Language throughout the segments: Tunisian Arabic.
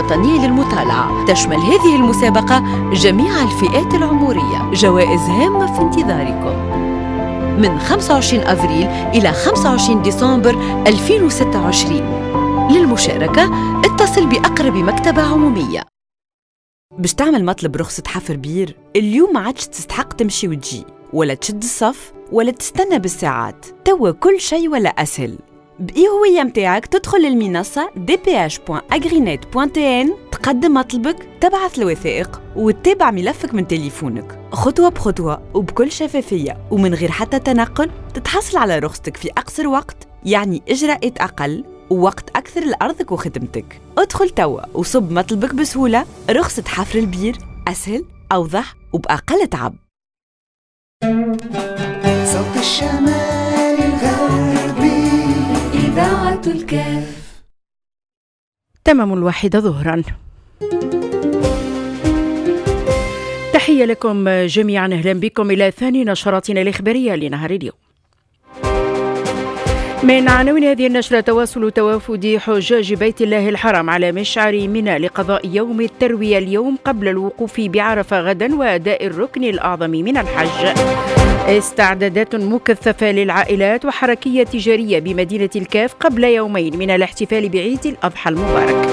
الوطنية للمطالعة. تشمل هذه المسابقة جميع الفئات العمرية. جوائز هامة في انتظاركم من 25 أفريل إلى 25 ديسمبر 2026. للمشاركة اتصل بأقرب مكتبة عمومية. باش تعمل مطلب رخصة حفر بير اليوم ما عادش تستحق تمشي وتجي ولا تشد الصف ولا تستنى بالساعات، توا كل شيء ولا أسهل. بإي هوية متاعك تدخل للمنصة dph.agrinet.tn، تقدم مطلبك، تبعث الوثائق وتتابع ملفك من تليفونك خطوة بخطوة وبكل شفافية ومن غير حتى تنقل. تتحصل على رخصتك في أقصر وقت، يعني إجراءات أقل ووقت أكثر لأرضك وخدمتك. ادخل توا وصب مطلبك بسهولة. رخصة حفر البير أسهل، أوضح وبأقل تعب. صوت الشمال الغربي، إذاعة الكاف. تمام 1 ظهرا. تحية لكم جميعا، أهلا بكم إلى ثاني نشراتنا الإخبارية لنهار اليوم. من عناوين هذه النشرة: تواصل توافد حجاج بيت الله الحرام على مشعر منى لقضاء يوم التروية اليوم قبل الوقوف بعرفة غدا وأداء الركن الأعظم من الحج. استعدادات مكثفة للعائلات وحركية تجارية بمدينة الكاف قبل يومين من الاحتفال بعيد الأضحى المبارك.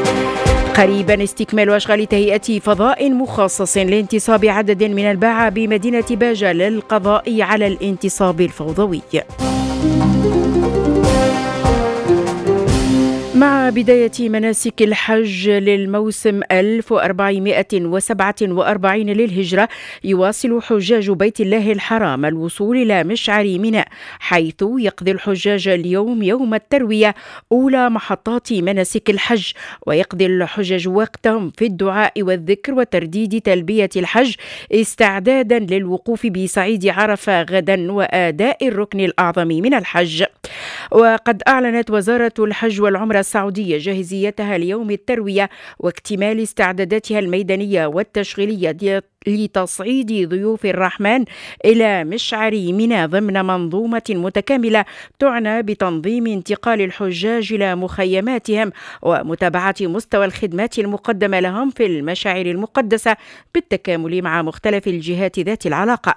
قريبا استكمال أشغال تهيئة فضاء مخصص لانتصاب عدد من الباعة بمدينة باجة للقضاء على الانتصاب الفوضوي. مع بداية مناسك الحج للموسم 1447 للهجرة، يواصل حجاج بيت الله الحرام الوصول إلى مشعر منى، حيث يقضي الحجاج اليوم يوم التروية أولى محطات مناسك الحج، ويقضي الحجاج وقتهم في الدعاء والذكر وترديد تلبية الحج استعدادا للوقوف بصعيد عرفة غدا وأداء الركن الأعظم من الحج. وقد أعلنت وزارة الحج والعمرة السعودية جاهزيتها ليوم التروية واكتمال استعداداتها الميدانية والتشغيلية لتصعيد ضيوف الرحمن إلى مشعر منى ضمن منظومة متكاملة تعنى بتنظيم انتقال الحجاج إلى مخيماتهم ومتابعة مستوى الخدمات المقدمة لهم في المشاعر المقدسة بالتكامل مع مختلف الجهات ذات العلاقة.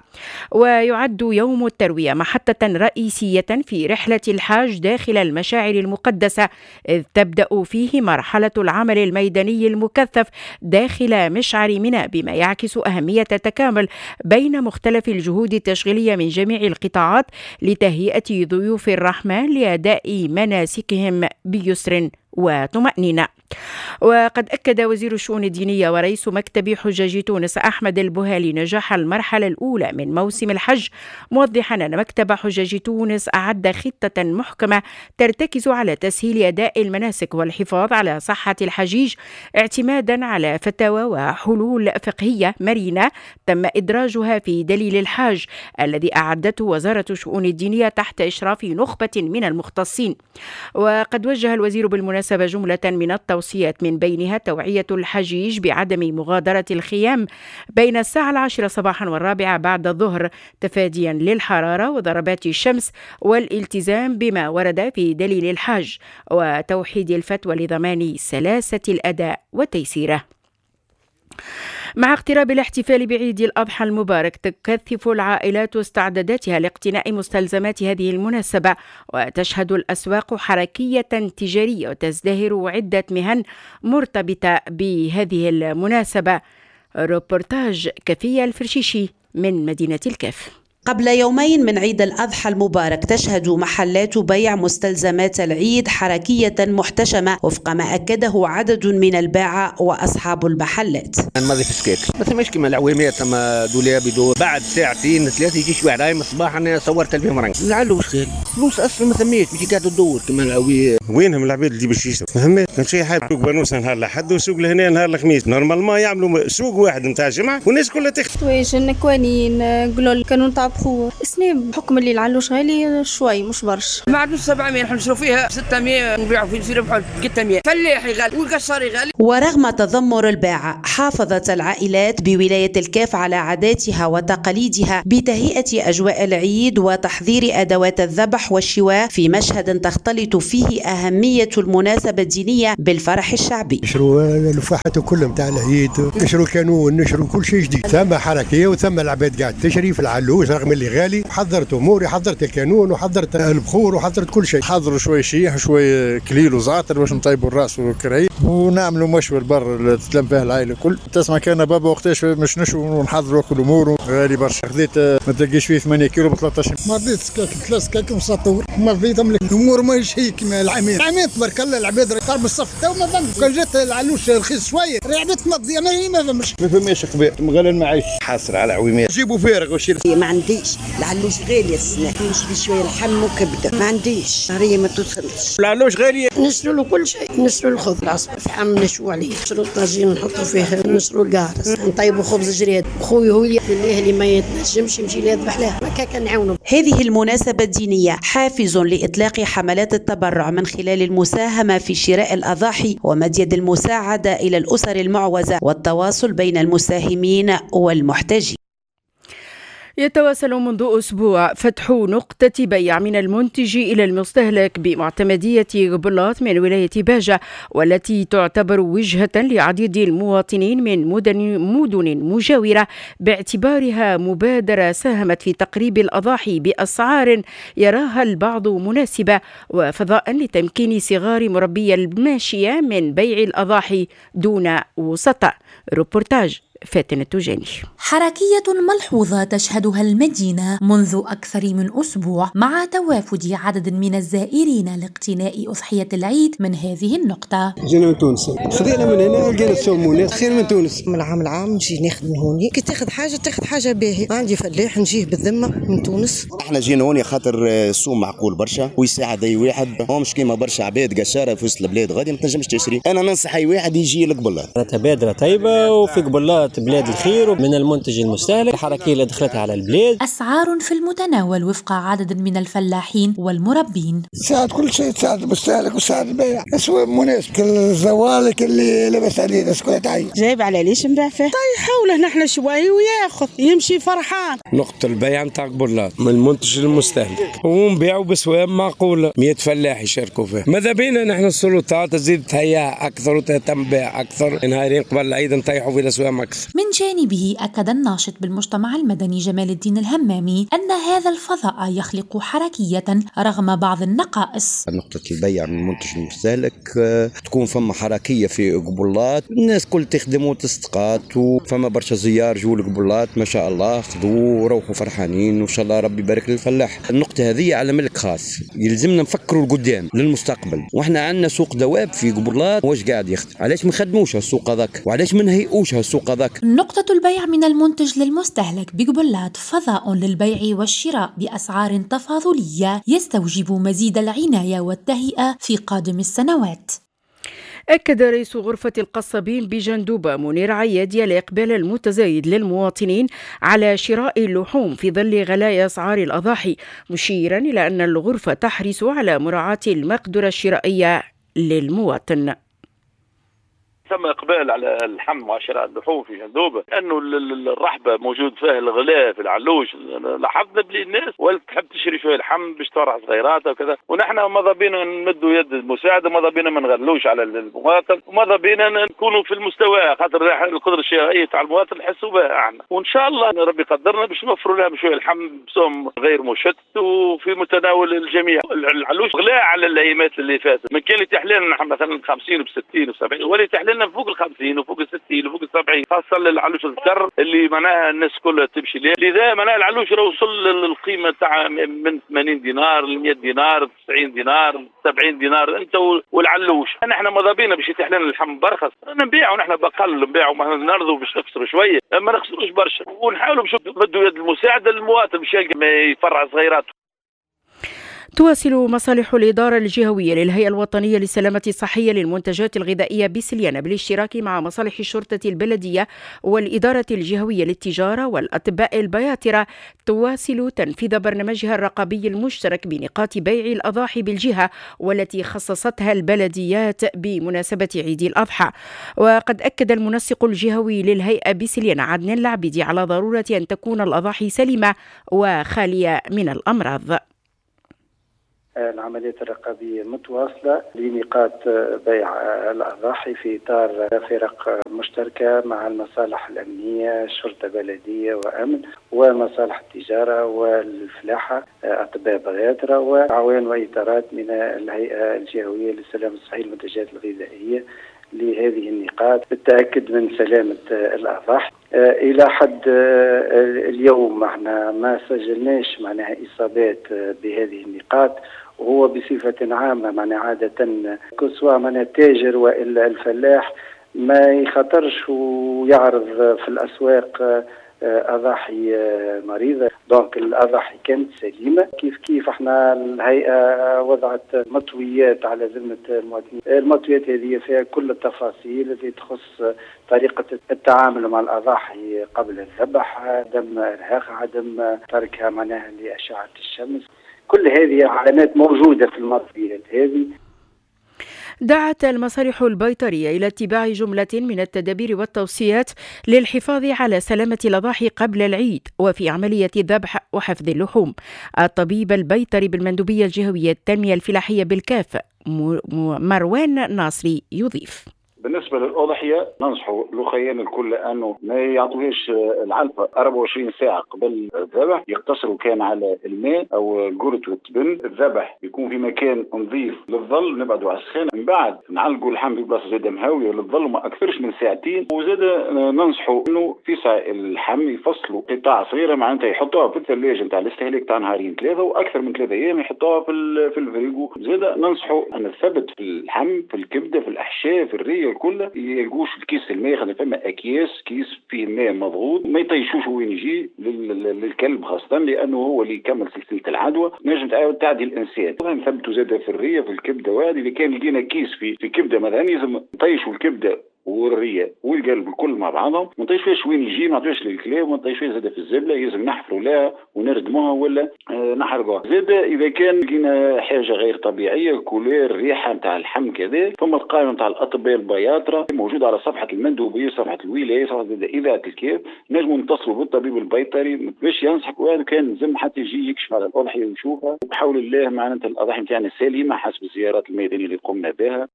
ويعد يوم التروية محطة رئيسية في رحلة الحاج داخل المشاعر المقدسة، إذ تبدأ فيه مرحلة العمل الميداني المكثف داخل مشعر منى، بما يعكس أهمية التكامل بين مختلف الجهود التشغيلية من جميع القطاعات لتهيئة ضيوف الرحمن لأداء مناسكهم بيسر وطمأنينة. وقد أكد وزير الشؤون الدينية ورئيس مكتب حجاج تونس أحمد البوهالي نجاح المرحلة الأولى من موسم الحج، موضحا أن مكتب حجاج تونس أعد خطة محكمة ترتكز على تسهيل أداء المناسك والحفاظ على صحة الحجيج، اعتمادا على فتاوى وحلول فقهية مرنة تم إدراجها في دليل الحاج الذي أعدته وزارة الشؤون الدينية تحت إشراف نخبة من المختصين. وقد وجه الوزير بالمناسبة جملة من التوصيات، من بينها توعية الحجيج بعدم مغادرة الخيام بين الساعة 10 صباحا و4 بعد الظهر تفاديا للحرارة وضربات الشمس، والالتزام بما ورد في دليل الحاج، وتوحيد الفتوى لضمان سلاسة الأداء وتيسيره. مع اقتراب الاحتفال بعيد الأضحى المبارك، تكثف العائلات استعداداتها لاقتناء مستلزمات هذه المناسبة، وتشهد الأسواق حركية تجارية وتزدهر عدة مهن مرتبطة بهذه المناسبة. روبورتاج كفية الفرشيشي من مدينة الكاف. قبل يومين من عيد الأضحى المبارك تشهد محلات بيع مستلزمات العيد حركية محتشمة وفق ما أكده عدد من الباعة وأصحاب المحلات. الماضي في السكاك ما ثماش كيما العوامات، ثم دولاب يدور بعد ساعتين ثلاثة يجي شوية راي من الصباح. أنا صورت 2000 فرنك لعله واش خير فلوس أصلا ما ثماش ماشي قاعدة تدور كيما العوي. وينهم العباد اللي باش يشروا؟ ما ثماش كان شي حاجة. سوق بانوس نهار الأحد وسوق لهنا نهار الخميس، normalement يعملوا سوق واحد نتاع الجمعة والناس كلها تخدم. حوايج كوانين قلول كانوا نتاع بخور. السنة بحكم اللي العلوش غالي شوي مش برشا. معدنوس 700 نحن نشرو فيها 600، نبيعوا فيه نربحوا 300. فلاح غالي والقشاري غالي. ورغم تذمر الباعة حافظت العائلات بولاية الكاف على عاداتها وتقاليدها بتهيئة أجواء العيد وتحضير أدوات الذبح والشواء في مشهد تختلط فيه أهمية المناسبة الدينية بالفرح الشعبي. نشروا الفاحات كلهم تاع العيد، نشروا كانون، نشروا كل شيء جديد. ثم حركية وثم العباد قاعد تشري في العلوش رغم اللي غالي. حضرت أموري، حضرت الكانون وحضرت البخور وحضرت كل شيء. حضروا شوي شيح وشوي كليل وزعتر باش نطيبوا الراس والكرعي ونعملوا مشوي البر اللي تتلم فيها العائلة الكل. تسمع كان بابا وقتاش مش نشوي ونحضروا كل امور غالي برشا. خذيت ما تلقيش فيه 8 كيلو ب 13. ما رضيت سكاك 3 سكاك وسطور ما رضيت املك الامور ماهيش هي كيما العامين. العامين تبارك الله العباد قرب الصف تو ما فهمش. كان جات العلوش رخيص شوية العباد تمضي ما فهمش. ما فماش قبال غالي المعيش حاصر على عويمات جيبوا فارغ وشيل. ما عنديش العلوش غالي السنة، نشري شوية لحم وكبده ما عنديش شهرية ما توصلش. العلوش غالي نشرو له كل شيء، نشرو الخبز العصب فحم نشوي عليه، نشرو الطاجين نحطو فيه، نشرو القارص، نطيبو خبز جريد. خويا هو اللي ما يتنجمش يمشي يذبح له هكاك نعاونو. هذه المناسبة الدينية حافز لإطلاق حملات التبرع من خلال المساهمة في شراء الأضاحي ومد يد المساعدة إلى الأسر المعوزة والتواصل بين المساهمين والمحتاجين. يتواصل منذ أسبوع فتح نقطة بيع من المنتج إلى المستهلك بمعتمدية قبلاط من ولاية باجة، والتي تعتبر وجهة لعديد المواطنين من مدن مجاورة باعتبارها مبادرة ساهمت في تقريب الأضاحي بأسعار يراها البعض مناسبة، وفضاء لتمكين صغار مربي الماشية من بيع الأضاحي دون وسطاء. روبورتاج فاتن التوجاني. حركية ملحوظة تشهدها المدينة منذ أكثر من أسبوع مع توافد عدد من الزائرين لاقتناء أضحية العيد من هذه النقطة. جينا من تونس، خذينا من هنا لقينا السومونات خير من تونس. من العام العام نجي ناخذ من هوني، كي تاخذ حاجة تاخذ حاجة باهية. عندي فلاح نجيه بالذمة من تونس. احنا جينا هوني خاطر السوم معقول برشا ويساعد أي واحد، هو مش كيما برشا عباد قشارة في وسط البلاد غادي ما تنجمش تشري. أنا ننصح أي واحد يجي لقبلاط. تبادرة طيبة وفي قبلاط بلاد الخير من المنتج المستهلك، الحركية اللي دخلتها على البلاد. أسعار في المتناول وفق عدد من الفلاحين والمربين. تساعد كل شيء، تساعد المستهلك وتساعد البيع، أسواق مناسب. الزوالك اللي لاباس عليه الناس كلها تعيش. جايب على ليش نبيع فيه؟ طيب حوله نحن شوي وياخذ يمشي فرحان. نقطة البيع نتاع قبلاط من المنتج للمستهلك ونبيعوا بأسواق معقولة، 100 فلاح يشاركوا فيه. ماذا بينا نحن السلطات تزيد تهيئها أكثر وتهتم بها أكثر، نهارين قبل العيد نطيحوا في الأسواق أكثر. من جانبه أكد الناشط بالمجتمع المدني جمال الدين الهمامي أن هذا الفضاء يخلق حركية رغم بعض النقائص. نقطة البيع من المنتج المستهلك تكون فما حركية في قبلاط، الناس كل تخدم وتستقات، وفما برشا زيار جو لقبلاط ما شاء الله خذوا وروحوا فرحانين وإن شاء الله ربي يبارك للفلاح. النقطة هذه على ملك خاص، يلزمنا نفكروا لقدام للمستقبل، واحنا عندنا سوق دواب في قبلاط واش قاعد يخدم، علاش ما نخدموش السوق هذاك وعلاش ما نهيئوش السوق هذاك. نقطة البيع من المنتج للمستهلك بقبلاط فضاء للبيع والشراء بأسعار تفاضلية يستوجب مزيد العناية والتهيئة في قادم السنوات. أكد رئيس غرفة القصابين بجندوبة منير عيادي الإقبال المتزايد للمواطنين على شراء اللحوم في ظل غلاء أسعار الأضاحي، مشيرا إلى أن الغرفة تحرص على مراعاة المقدرة الشرائية للمواطن. ثم اقبال على اللحم وشراء اللحوم في جندوبه، لانه الرحبه موجود فيها الغلاء في العلوش. لاحظنا بلي الناس ولات تحب تشري شوية لحم باش تفرح صغيراتها وكذا، ونحن ماذا بينا نمدوا يد المساعدة، ماذا بينا ما نغلوش على المواطن، وماذا بينا نكونوا في المستوى، خاطر القدرة الشرائية تاع المواطن نحسوا بها احنا، وان شاء الله ربي قدرنا باش نوفروا لهم شوية لحم بسوم غير مشتت وفي متناول الجميع. العلوش غلاء على الايامات اللي فاتت، من كان يتيح لنا نحن مثلا 50 و60 و70 ولا يتيح لنا فوق ال 50 وفوق ال 60 وفوق ال 70، خاصة للعلوش الذكر اللي معناها الناس كلها تمشي ليه. لذا معناها العلوش راه وصل للقيمة تاع من 80 دينار ل 100 دينار 90 دينار 70 دينار انت والعلوش. نحن ماذا بينا باش يتيح لنا اللحم برخص نبيعوا نحن بقل، نبيعوا نرضوا باش نخسروا شوية، ما نخسروش برشا، ونحاولوا باش نمدوا يد المساعدة للمواطن باش يلقى ما يفرع صغيراته. تواصل مصالح الإدارة الجهوية للهيئة الوطنية للسلامة الصحية للمنتجات الغذائية بسليانة بالاشتراك مع مصالح الشرطة البلدية والإدارة الجهوية للتجارة والأطباء البياطرة تواصل تنفيذ برنامجها الرقابي المشترك بنقاط بيع الأضاحي بالجهة والتي خصصتها البلديات بمناسبة عيد الأضحى. وقد أكد المنسق الجهوي للهيئة بسليانة عدنان العبيدي على ضرورة أن تكون الأضاحي سليمة وخالية من الأمراض. العمليات الرقابية متواصلة لنقاط بيع الأضاحي في إطار فرق مشتركة مع المصالح الأمنية، الشرطة البلدية وأمن، ومصالح التجارة والفلاحة، أطباء بياطرة، وأعوان وإطارات من الهيئة الجهوية للسلامة الصحية للمنتجات الغذائية لهذه النقاط بالتأكد من سلامة الأضاحي. إلى حد اليوم احنا ما سجلناش معناها إصابات بهذه النقاط، وهو بصفة عامة معناها عادة كسوا معناها التاجر وإلا الفلاح ما يخاطرش ويعرض في الأسواق أضاحي مريضة، donc الأضاحي كانت سليمة. كيف كيف احنا الهيئة وضعت مطويات على ذمة المواطنين، المطويات هذه فيها كل التفاصيل التي تخص طريقة التعامل مع الأضاحي قبل الذبح، عدم إرهاقها، عدم تركها معناها لأشعة الشمس، كل هذه علامات موجودة في المطويات هذه. دعت المصالح البيطرية إلى اتباع جملة من التدابير والتوصيات للحفاظ على سلامة الأضاحي قبل العيد وفي عملية الذبح وحفظ اللحوم. الطبيب البيطري بالمندوبية الجهوية التنمية الفلاحية بالكاف مروان ناصري يضيف: بالنسبة للأضحية ننصحوا الأخيان الكل أنه ما يعطوهاش العلفة 24 ساعة قبل الذبح، يقتصروا كان على الماء أو القرط والتبن. الذبح يكون في مكان نظيف للظل، نبعدوا على السخانة، من بعد نعلقوا اللحم في بلاصة زادة مهوية للظل وما أكثرش من ساعتين. وزاد ننصحوا أنه في ساعة اللحم يفصلوا قطع صغيرة، معناتها يحطوها في الثلاجة نتاع الاستهلاك تاع نهارين ثلاثة وأكثر من 3 أيام يحطوها في الفريغو. زاد ننصحوا أن الثبت في اللحم، في الكبدة، في الأحشاء، في الريه، كله يلقوش الكيس الماء، خاطر فما اكياس كيس فيه ماء مضغوط ما يطيشوش وين يجي للكلب خاصة، لانه هو اللي يكمل سلسلة العدوى نجم تعاود تعدي الانسان. نثبتوا زاده في الريه في الكبده، وهذه اذا كان لقينا كيس في كبده مثلا لازم نطيشوا الكبده والريه والقلب الكل مع بعضهم، ما نطيشوش وين يجي، ما نعطيوش للكلاب، ما نطيشوش زاده في الزبله، لازم نحفروا لها ونردموها ولا نحرقوها. زاد اذا كان لقينا حاجة غير طبيعية، couleur، ريحه نتاع اللحم كذا، ثم القائمة نتاع الاطباء البياطره موجودة على صفحة المندوبيه، صفحة الولاية، صفحة اذاعة الكاف، نجموا نتصلوا بالطبيب البيطري باش ينصحك، وهذا كان لازم حتى يجي يكشف على الاضحية ويشوفها. وبحول الله معناتها الاضاحي نتاعنا سليمة حسب الزيارات الميدانية اللي قمنا بها.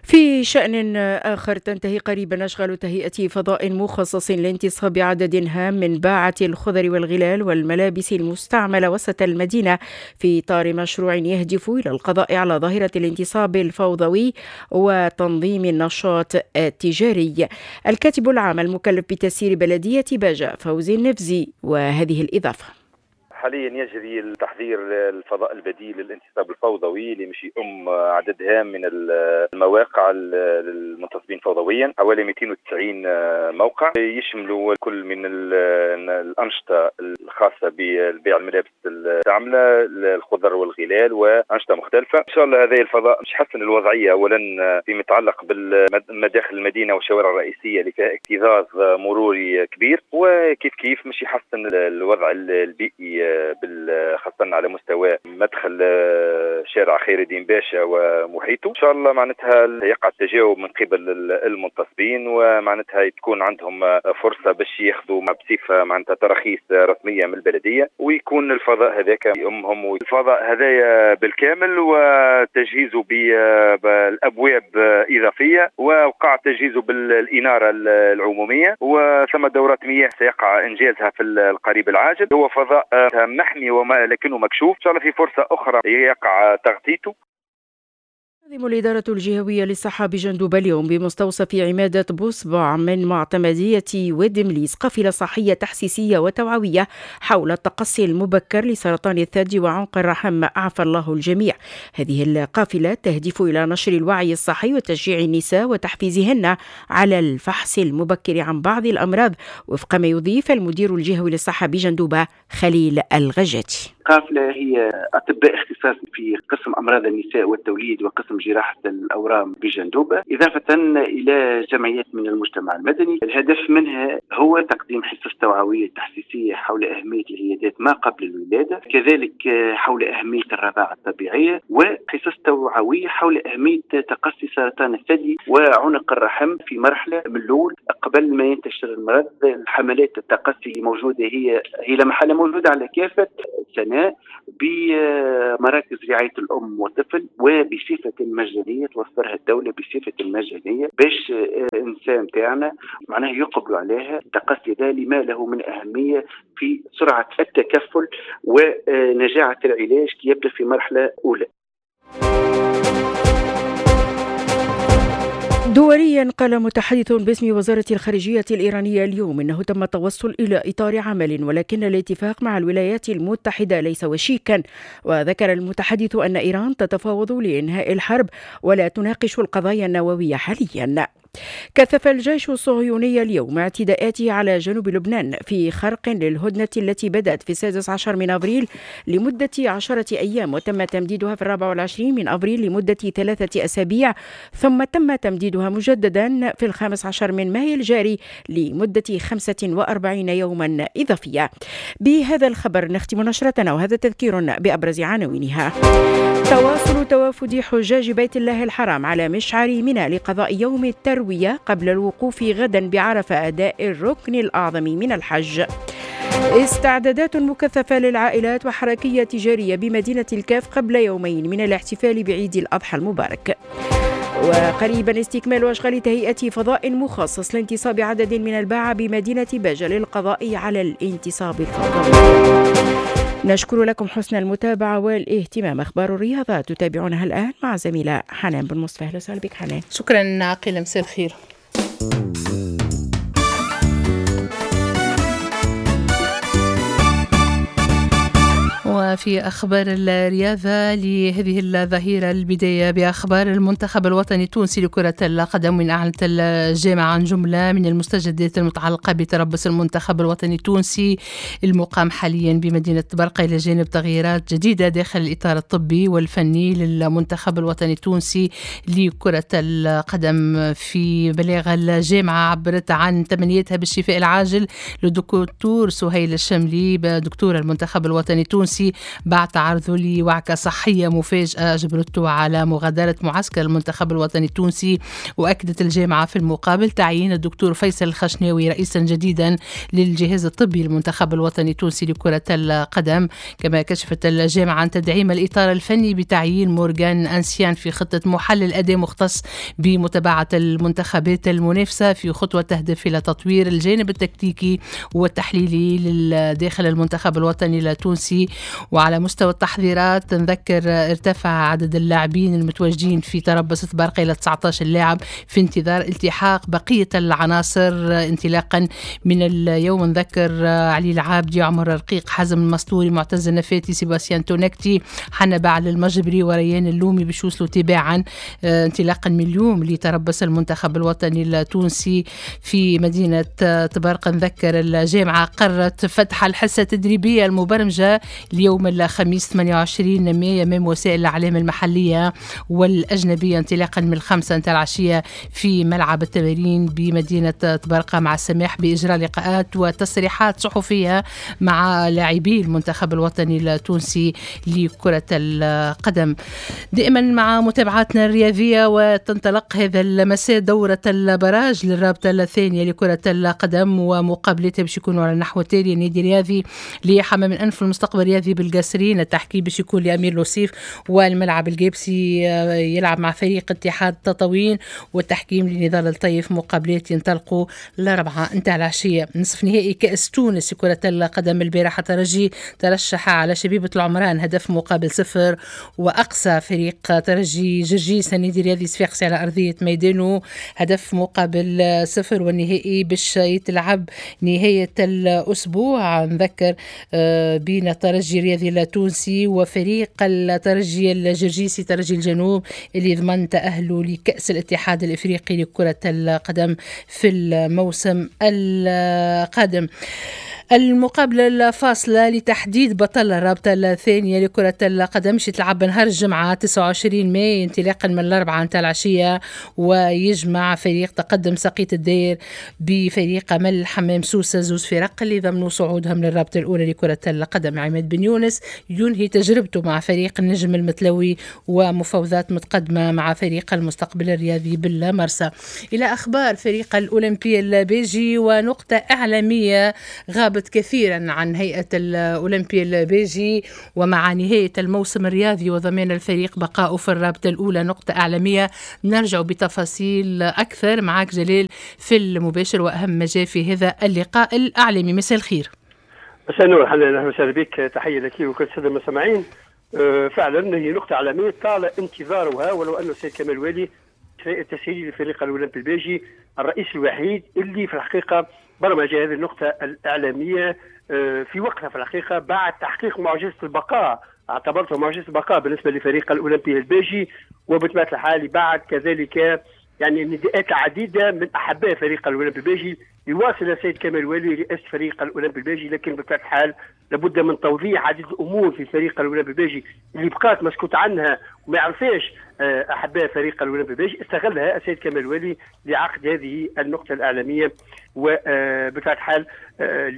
في شأن آخر، تنتهي قريبا أشغال تهيئة فضاء مخصص لانتصاب عدد هام من باعة الخضر والغلال والملابس المستعملة وسط المدينة في إطار مشروع يهدف إلى القضاء على ظاهرة الانتصاب الفوضوي وتنظيم النشاط التجاري. الكاتب العام المكلف بتسيير بلدية باجة فوزي النفزي وهذه الإضافة: حاليا يجري التحضير للفضاء البديل للانتصاب الفوضوي اللي مشي عدد هام من المواقع للمنتصبين فوضويا، حوالي 290 موقع يشملوا كل من الأنشطة الخاصة ببيع الملابس المستعملة، الخضر والغلال، وأنشطة مختلفة. إن شاء الله هذا الفضاء مش يحسن الوضعية أولا فيما يتعلق بالمداخل المدينة والشوارع الرئيسية اللي فيها اكتظاظ مروري كبير، وكيف كيف مش يحسن الوضع البيئي خاصة على مستوى مدخل شارع خير الدين باشا ومحيطه. إن شاء الله معناتها يقع التجاوب من قبل المنتصبين، ومعناتها تكون عندهم فرصة باش ياخذوا بصفة معناتها تراخيص رسمية من البلدية، ويكون الفضاء هذاك أمهم. الفضاء هذايا بالكامل وتجهيزه بالأبواب إضافية، ووقع تجهيزه بالإنارة العمومية، وثم دورات مياه سيقع إنجازها في القريب العاجل. هو فضاء محمي وما لكنه مكشوف، إن شاء الله في فرصة أخرى يقع تغطيته. تنظم الإدارة الجهوية للصحة بجندوبة اليوم بمستوصف عمادة بوصبع من معتمدية واد مليس قافلة صحية تحسيسية وتوعوية حول التقصي المبكر لسرطان الثدي وعنق الرحم، أعفى الله الجميع. هذه القافلة تهدف إلى نشر الوعي الصحي وتشجيع النساء وتحفيزهن على الفحص المبكر عن بعض الأمراض، وفق ما يضيف المدير الجهوي للصحة بجندوبة خليل الغجاتي. القافلة هي أطباء اختصاص في قسم أمراض النساء والتوليد وقسم جراحة الأورام بجندوبة، إضافة إلى جمعيات من المجتمع المدني. الهدف منها هو تقديم حصص توعوية تحسيسية حول أهمية العيادات ما قبل الولادة، كذلك حول أهمية الرضاعة الطبيعية، وحصص توعوية حول أهمية تقصي سرطان الثدي وعنق الرحم في مرحلة من الأول قبل ما ينتشر المرض. الحملات التقصي موجودة، هي لمحلة موجودة على كافة السنة بمراكز رعاية الأم والطفل وبصفة مجانية، توفرها الدولة بصفة مجانية باش الإنسان تاعنا معناه يقبلوا عليها. التقصي ذا لما له من أهمية في سرعة التكفل ونجاعة العلاج كي يبدأ في مرحلة أولى. دوليا، قال متحدث باسم وزارة الخارجية الإيرانية اليوم إنه تم التوصل إلى إطار عمل، ولكن الاتفاق مع الولايات المتحدة ليس وشيكا. وذكر المتحدث أن إيران تتفاوض لإنهاء الحرب ولا تناقش القضايا النووية حاليا. كثف الجيش الصهيوني اليوم اعتداءاته على جنوب لبنان في خرق للهدنة التي بدأت في 16 من أبريل لمدة 10 أيام، وتم تمديدها في 24 من أبريل لمدة 3 أسابيع، ثم تم تمديدها مجددا في 15 من مايو الجاري لمدة 45 يوما إضافية. بهذا الخبر نختم نشرتنا، وهذا تذكير بأبرز عناوينها. تواصل توافد حجاج بيت الله الحرام على مشعر منى لقضاء يوم التروية قبل الوقوف غدا بعرفة أداء الركن الأعظم من الحج. استعدادات مكثفة للعائلات وحركية تجارية بمدينة الكاف قبل يومين من الاحتفال بعيد الأضحى المبارك. وقريبا استكمال أشغال تهيئة فضاء مخصص لانتصاب عدد من الباعة بمدينة باجة للقضاء على الانتصاب الفضائي. نشكر لكم حسن المتابعة والاهتمام. أخبار الرياضة تتابعونها الآن مع زميلة حنان بن مصطفى. أهلا وسهلا بك حنان. شكرا عقيلة، مساء الخير. وفي أخبار الرياضة لهذه الظهيرة، البداية بأخبار المنتخب الوطني التونسي لكرة القدم، من أعلنت الجامعة عن جملة من المستجدات المتعلقة بتربص المنتخب الوطني التونسي المقام حاليا بمدينة برقة، إلى جانب تغييرات جديدة داخل الإطار الطبي والفني للمنتخب الوطني التونسي لكرة القدم. في بلاغ الجامعة عبرت عن تمنيتها بالشفاء العاجل للدكتور سهيل الشملي دكتور المنتخب الوطني التونسي بعد تعرضه لوعكة صحية مفاجئة أجبرته على مغادرة معسكر المنتخب الوطني التونسي. وأكدت الجامعة في المقابل تعيين الدكتور فيصل الخشناوي رئيسا جديدا للجهاز الطبي للمنتخب الوطني التونسي لكرة القدم. كما كشفت الجامعة عن تدعيم الإطار الفني بتعيين مورغان أنسيان في خطة محلل أداء مختص بمتابعة المنتخبات المنافسة، في خطوة تهدف إلى تطوير الجانب التكتيكي والتحليلي داخل المنتخب الوطني التونسي. وعلى مستوى التحضيرات نذكر ارتفع عدد اللاعبين المتواجدين في تربص برقة إلى 19 لاعب في انتظار التحاق بقية العناصر انطلاقا من اليوم. نذكر علي العابدي، عمر رقيق، حزم المستوري، معتز النفاتي، سيباستيان تونكتي، حنبعل المجبري وريان اللومي باش يوصلوا تباعا انطلاقا من اليوم لتربص المنتخب الوطني التونسي في مدينة طبرقة. نذكر الجامعة قررت فتح الحصة التدريبية المبرمجة اليوم الخميس 28 مايو أمام وسائل الإعلام المحلية والأجنبية انطلاقا من 5 العشية في ملعب التمارين بمدينة طبرقة، مع السماح بإجراء لقاءات وتصريحات صحفية مع لاعبي المنتخب الوطني التونسي لكرة القدم. دائما مع متابعاتنا الرياضية، وتنطلق هذا المساء دورة البراج للرابطة الثانية لكرة القدم، ومقابلتها باش يكونوا على النحو التالي: النادي الرياضي لحمام الأنف المستقبل الرياضي بالقاسرين، التحكيم باش يكون لأمير لوسيف، والملعب الجابسي يلعب مع فريق اتحاد تطاوين، والتحكيم لنضال الطيف. مقابلات ينطلقوا الأربعاء نتاع العشية. نصف نهائي كأس تونس كرة القدم، البارحة ترجي ترشح على شبيبة العمران 0-0، وأقصى فريق ترجي جرجيس النادي الرياضي صفاقسي على أرضية ميدانه 0-0، والنهائي باش يتلعب نهاية الأسبوع. نذكر بين الترجي الرياضي التونسي وفريق الترجي الجرجيسي ترجي الجنوب اللي ضمن تأهله لكأس الاتحاد الإفريقي لكرة القدم في الموسم القادم. المقابلة الفاصلة لتحديد بطل الرابطة الثانية لكرة القدم تلعب نهار الجمعة 29 ماي انطلاقا من 4 نتاع العشية، ويجمع فريق تقدم سقية الدير بفريق أمل حمام سوسة، زوز فرق اللي ضمنوا صعودهم للرابطة الأولى لكرة القدم. عماد بن يونس ينهي تجربته مع فريق النجم المتلوي ومفاوضات متقدمة مع فريق المستقبل الرياضي بالمرسى. إلى أخبار فريق الأولمبي البيجي ونقطة إعلامية غابت كثيرا عن هيئة الأولمبي البيجي، ومع نهاية الموسم الرياضي وضمان الفريق بقاؤه في الرابطة الأولى. نقطة إعلامية نرجع بتفاصيل أكثر معك جليل في المباشر وأهم ما جاء في هذا اللقاء الإعلامي. مساء الخير. مساء النور حنان، أهلا وسهلا بك، تحية لك وكل السادة المستمعين. فعلا هي نقطة إعلامية طال انتظارها، ولو أن السيد كمال والي التسهيلي لفريق الأولمبي البيجي الرئيس الوحيد اللي في الحقيقة برمج هذه النقطة الإعلامية في وقتها في الحقيقة بعد تحقيق معجزة البقاء، اعتبرته معجزة البقاء بالنسبة لفريق الأولمبي البيجي، وبطبيعة الحال بعد كذلك يعني نداءات عديدة من أحباء فريق الأولمبي البيجي يواصل السيد كمال والي رئاسة فريق الأولمبي البيجي، لكن بطبيعة الحال لابد من توضيح عديد الأمور في فريق الأولمبي البيجي اللي بقات مسكوت عنها وما يعرفهاش أحباء فريق الأولمبي البيجي. استغلها السيد كمال والي لعقد هذه النقطة الإعلامية وبطبيعة الحال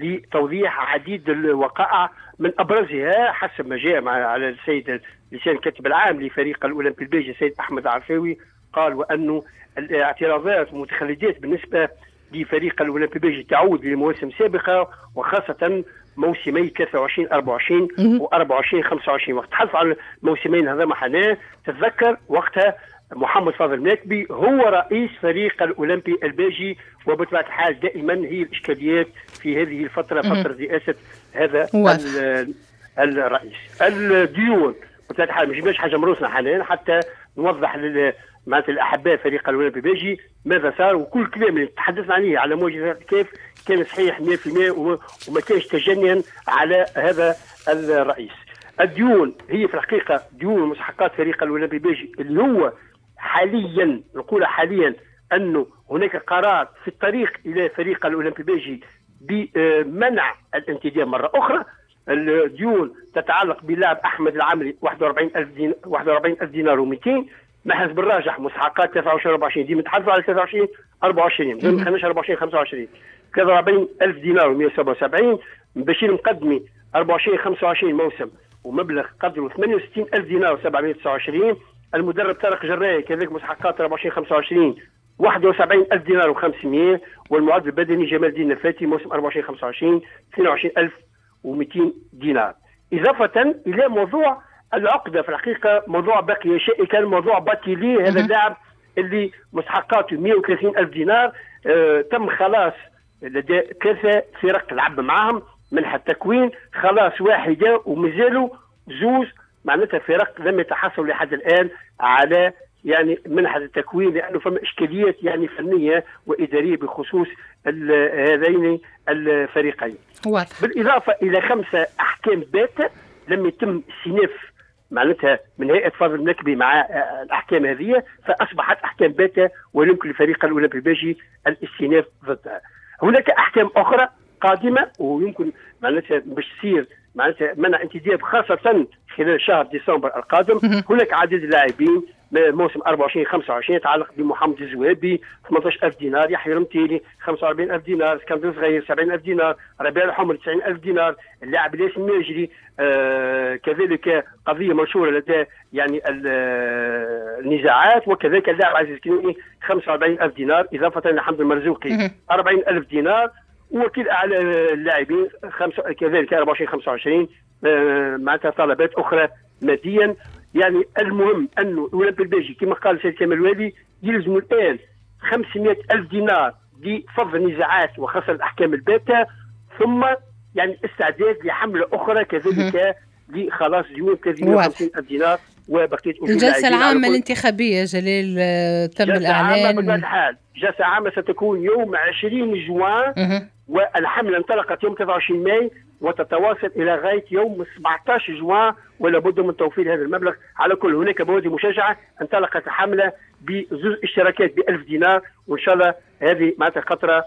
لتوضيح عديد الوقائع، من أبرزها حسب ما جاء على السيد لسان الكاتب العام لفريق الأولمبي البيجي السيد أحمد عرفاوي، قال وأنه الاعتراضات والمتخلدات بالنسبة لفريق الأولمبي البيجي تعود لمواسم سابقة، وخاصة موسمي 23 24 و 24 25. وقت تحدث عن الموسمين هذا حنان تتذكر وقتها محمد فاضل ماكبي هو رئيس فريق الأولمبي البيجي، وبطبيعة الحال دائما هي الإشكاليات في هذه الفترة، فترة رئاسة هذا الرئيس. الديون بطبيعة الحال ما جبناش حاجة مروسنا حاليا حتى نوضح معناتها الأحباء فريق الأولمبي البيجي ماذا صار، وكل كلام اللي تحدثنا عليه على مواجهة كيف كان صحيح 100% وما كانش تجنيا على هذا الرئيس. الديون هي في الحقيقة ديون ومستحقات فريق الأولمبي البيجي اللي هو حاليا نقول حاليا أنه هناك قرار في الطريق إلى فريق الأولمبي البيجي بمنع الانتداب مرة أخرى. الديون تتعلق بلاعب أحمد العمري 41000 دينار و200، محرز بالراجح مستحقات 23 24 ديما نتحدثوا على 23 24 ما دخلناش 24 25 43000 دينار و177، بشير مقدمي 24 25 موسم ومبلغ قدره 68000 دينار و729، المدرب طارق جراي كذلك مستحقات 24 25 71000 دينار و500، والمعد البدني جمال الدين النفاتي موسم 24 25 22200 دينار. إضافة إلى موضوع العقدة في الحقيقة موضوع بقي شائكا، موضوع باتيلي هذا اللاعب اللي مستحقاته 130000 دينار، تم خلاص لدى 3 فرق لعب معاهم منح التكوين، خلاص واحدة ومازالوا زوز معناتها فرق لم يتحصلوا لحد الآن على يعني منحة التكوين، لأنه فما إشكاليات يعني فنية وإدارية بخصوص هذين الفريقين. واضح. بالإضافة إلى 5 أحكام باتة لم يتم استئناف معناتها من هيئة فاضل المكبي مع الأحكام هذه، فأصبحت أحكام باتة ويمكن لفريق الأولمبي الباجي الاستئناف ضدها. هناك أحكام أخرى قادمة ويمكن معناتها باش تصير معناتها منع انتداب خاصة خلال شهر ديسمبر القادم. هناك عديد اللاعبين موسم 24 25 يتعلق بمحمد الزوابي 18000 دينار، يحيى رمتيلي 45000 دينار، اسكندر صغير 70000 دينار، ربيع الحمر 90000 دينار، اللاعب الياس الماجري كذلك قضية منشورة لدى يعني النزاعات، وكذلك اللاعب عزيز كنوني 45000 دينار، اضافه لحمد المرزوقي 40000 دينار، وكيل اعلى اللاعبين كذلك 24 25 معناتها طلبات اخرى ماديا. يعني المهم انه الاولمبي الباجي كما قال السيد كمال الوالي يلزم الان 500,000 دينار لفض النزاعات وخاصة الاحكام الباته، ثم يعني استعداد لحمله اخرى كذلك لخلاص ديون 350,000 دينار وبقية الجلسة العامة الانتخابية. جليل تم الاعلان جلسه عامة بطبيعة الحال، جلسه عامة ستكون يوم 20 جوان والحملة انطلقت يوم 23 ماي وتتواصل الى غاية يوم 17 جوان، ولا بد من توفير هذا المبلغ. على كل هناك بوادي مشجعه، انطلقت الحملة بزوج اشتراكات ب 1000 دينار، وان شاء الله هذه معناتها خطره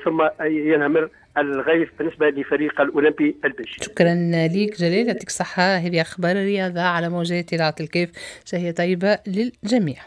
ثم ينهمر الغيث بالنسبة لفريق الاولمبي الباجي. شكرا ليك جلال، يعطيك الصحة. هذه اخبار الرياضة على موجات اذاعة الكاف، شهية طيبة للجميع.